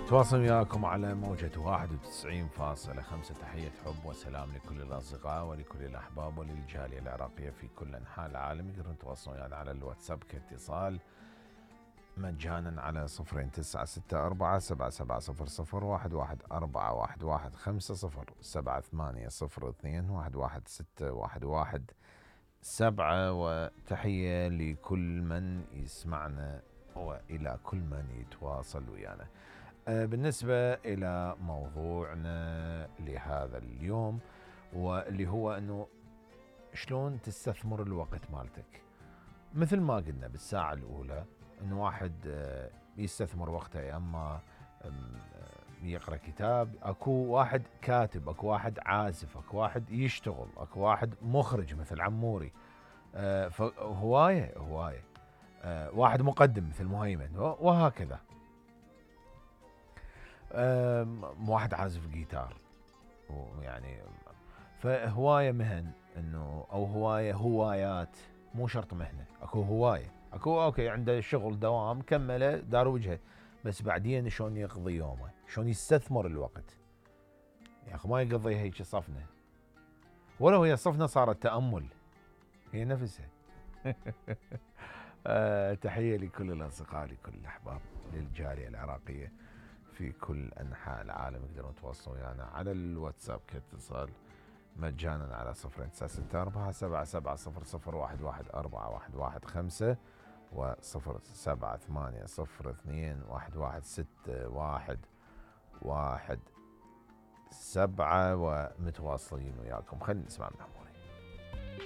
تواصل وياكم على موجة 91.5. تحية حب وسلام لكل الأصدقاء ولكل الأحباب وللجالية العراقية في كل أنحاء العالم. يقدرون يتواصلون ويانا على الواتساب كاتصال مجانا على 0964-770-011-7802-11611. وتحية لكل من يسمعنا وإلى كل من يتواصل ويانا. بالنسبة إلى موضوعنا لهذا اليوم، واللي هو أنه شلون تستثمر الوقت مالتك. مثل ما قلنا بالساعة الأولى أنه واحد يستثمر وقته، يا أما يقرأ كتاب، أكو واحد كاتب، أكو واحد عازف، أكو واحد يشتغل، أكو واحد مخرج مثل عموري، فهواية واحد مقدم مثل مهيمن، وهكذا. واحد عازف جيتار، يعني فهواية مهن انه، او هوايات، مو شرط مهنة. اكو هواية، اكو اوكي عنده شغل دوام كمله دار وجهه، بس بعدين شلون يقضي يومه، شلون يستثمر الوقت. يا اخي ما يقضي هيك صفنة، ولو هي صفنة صارت تأمل هي نفسها. تحية لكل الأصدقاء، لكل الأحباب، للجالية العراقية في كل أنحاء العالم. يقدرون يتواصلون ويانا على الواتساب كاتصال مجانا على 0964-770-011-415 و0780211617. ومتواصلين وياكم. خلينا نسمع محمود.